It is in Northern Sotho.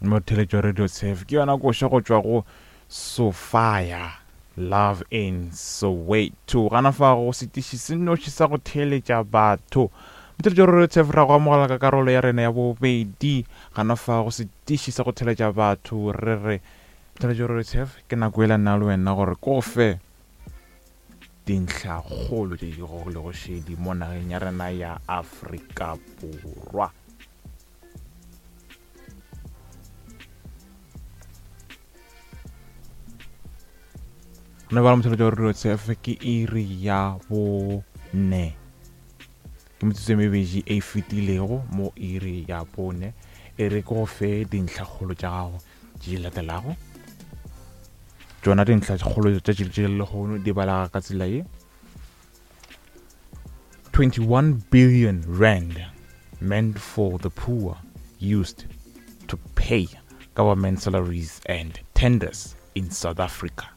Motheletšo Radio Tshef ke yona koša go tšwa go Sophia Love in Soweto. Gana fa go setiši se nnoši sa go theeletša batho. Motheletšo Radio Tshef ra go amogela ka karolo ya rena ya bobedi. Gana fa go setiši sa go theeletša batho re re Motheletšo Radio Tshef ke nako yela nna le wena gore ko fe dintlhakgolo tše di gogilego šedi mo nageng ya rena ya Afrika Borwa. Re bala motšhelo tša gore tsf ke iri ya bone ke metsotso e mebedi e fetilego mo iri ya bone e re ke go fe dintlhakgolo tša gago tše di latelago tšona dintlhakgolo tša tše lehono di balega ka tsela ye 21 billion rand meant for the poor used to pay government salaries and tenders in South Africa.